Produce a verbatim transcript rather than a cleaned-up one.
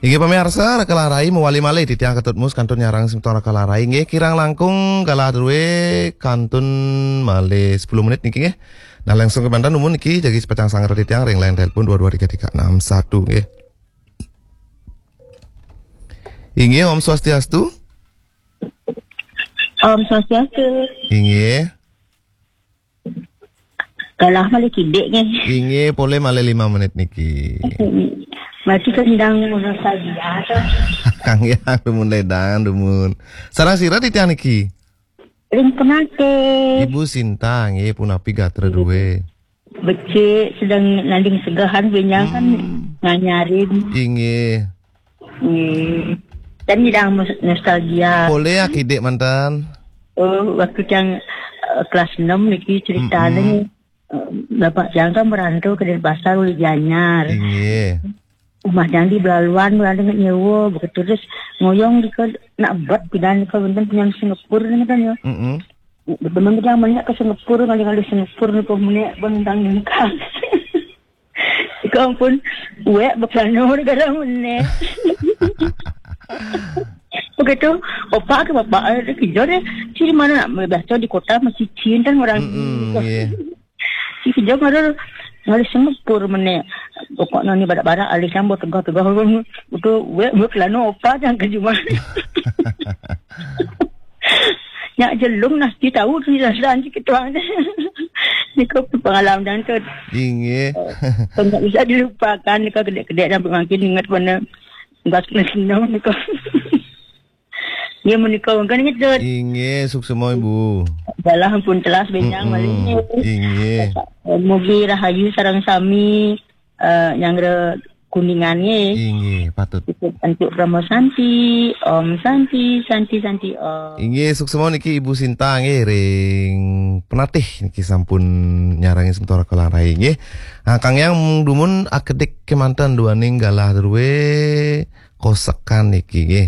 Inggih pamiarsa, Raka Larai mawali malih titiang Ketut Mus kantun nyarengin semeton Raka Larai. Inggih kirang langkung galah drué kantun malih sepuluh menit niki nggih. Nah, langsung kemanten dumun niki jagi sapécang sanggra titiang ring line telepon dua dua tiga tiga enam satu nggih. Inggih, Om Swastiastu. Om Swastiastu. Inggih. Galah malih kidik nggih. Inggih, polih malih lima menit niki. Berarti kendang nostalgia to. Kang Yang dumun ledang dumun. Sareng sira titiang niki? Ring Penatih. Ibu Sinta nggih, punapi gatra drué? Becik, sedeng nanding segehan benjang kan nganyarin. Inggih. Nggih. Dan nyidang mus- nostalgia. Polih ya kidik manten. Oh, waktu tiang eh, kelas enam niki ceritane. Eh, Bapak tiang kan merantau ke Denpasar uli Gianyar. Inggih. Umah tiang di Belaluan, ada nyewa, begitu terus ngoyong di ke nak bet pidan ke benten punya Singapura ni kan ya. Mm-mm. Teman kita banyak ke Singapura, ngalih-ngalih Singapura ni pemunik bentang nyengkang. Ika ampun, wek bekelana negara meneh. Begitu, opak ke bapak ada kerja deh. Ciri mana nak biasa di kota masih cinta orang. Mm-mm, iya. Si kerja ngalih ngalih Singapura meneh. Pokoknya ni badak-badak alih campur tegah-tegah. Betul, wek bekelana opak yang kerja mana. Nyak jelung nasi tahu tu jalan kita. Ni kau pengalaman dan tu. Inggih. Kau tak bisa dilupakan ni kau kedek-kedek sampai makin ingat mana. Enggak senang ni kau. Dia menikah kan ingat tu. Inggih, suksma Ibu. Dalam pun telas benyang malih. Inggih. Mugi rahayu sareng sami eh, nyanggra Kuningan nggih. Inggih, patut. Antuk Parama Santi, Om Santi, Santi, Santi, Om. Inggih, suksma niki Ibu Sinta nggih ring Penatih niki sampun nyarengin semeton Raka Larai nggih. Nah, Kang Yang dumun akedik kemanten duaning galah drué kosekan niki nggih.